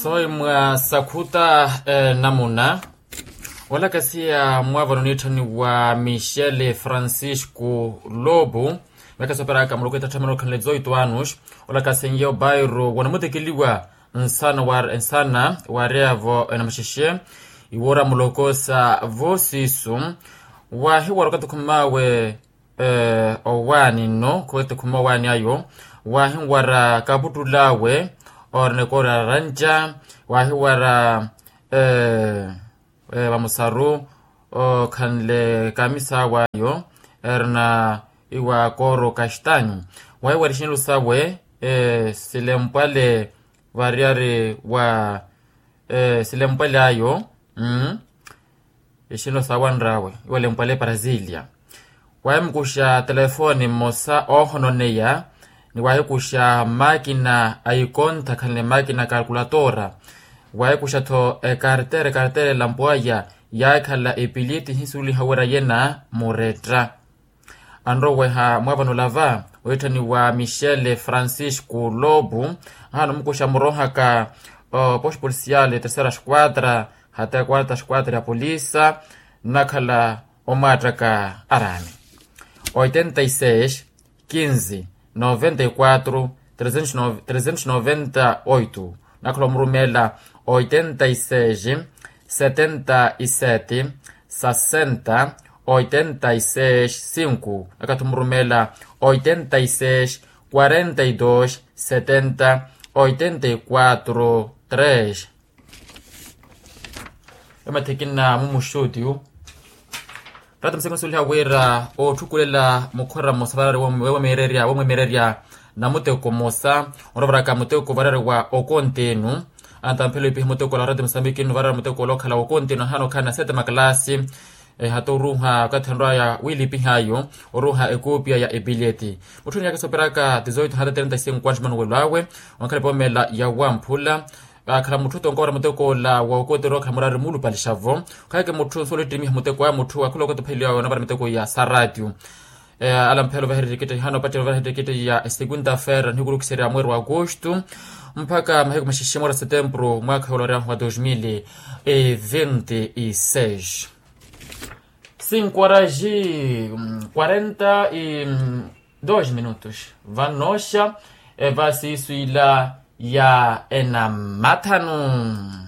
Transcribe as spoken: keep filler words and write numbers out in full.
Noi mwa sakhuta namuna olakasiya mwaavano niitthaniwa michel francisco lobo. Miyaka sooperaka muloko etatthamana okhanle zoito anos olakasiye obairo wanamutekeliwa nsana wa nsana waareya-vo enamaxexe iwoora muloko sa voosisu. Waahiwara okathi okhumaawe owaani nno okathi okhumaawe owaani ayo waahiwara kaputtul'awe oorina ekoori aranja waahiwara vamusaru okhanle kamisa awe ayo erina iwa kooro kastanyu. Waahiwara ixinelo sawe silempwale variyari wa silempwale ayo. Ixinelo sawe anrawe iwa lempwale brasilia. Waahimukuxa telefoni mmosa oohononeya ni waahikuxa makina a ikontha khanle makina a kalkulatora. Waahikuxa-tho ekartera ekartera elampwaya yaakhala epiliti ehisuliha wira yena muretta. Anroweha mwaavano lava oitthaniwa michel francisco lobo ahaana omukuxa murohaka o posto policial terceira esquadra hata quarta esquadra ya polisa nnakhala omwaattaka araani oitenta e seis quinze noventa e quatro trezentos noventa oito. Nnakhala omurumeela oitenta e seis setenta e sete sasenta oitenta e seis cinco. Nnakhala omurumeela oitenta e seis quarenta e dos setenta oitenta e quatro tres. Emathekina mumuxuutiyu ratta musekonsuliha wira otthukulela mukhora mmosa varari womwemererya womwemererya namuteko mmosa. Orovaraka muteko varari wa okontenu antamphelo ipiha muteko ola wa ratta musambikini varari muteko ola okhala wa okontenu ahaana okhala na sete makalasi. Hata oruuha okathi anrwaya wiilipih'ayo oruuha ekoopiya ya epileti mutthu niyaka sooperaka tizoito hata trenta e cinco anos manuwelo awe. Onkhala epoomela ya wamphula akhala mutthu tonka wara muteko ola wa okontenu okhala murari muulupalixa-vo. Okhaleke mutthu nsuwela ottimiha muteko aya mutthu akhula okathi opheliwa awe onavara miteko ya saratio. Alamphelo vahererikite hano pattelo vahererikite ya esegunda fera nihiku rukiserya mweri wa agosto mpakha mahiku maxexe mweri wa setempuru mwaakha yoola oryahu wa dos mil e vinte e seis. Cinco horas e quarenta e dos minutos. Vanoxa evasiisu ila ya enamathanu.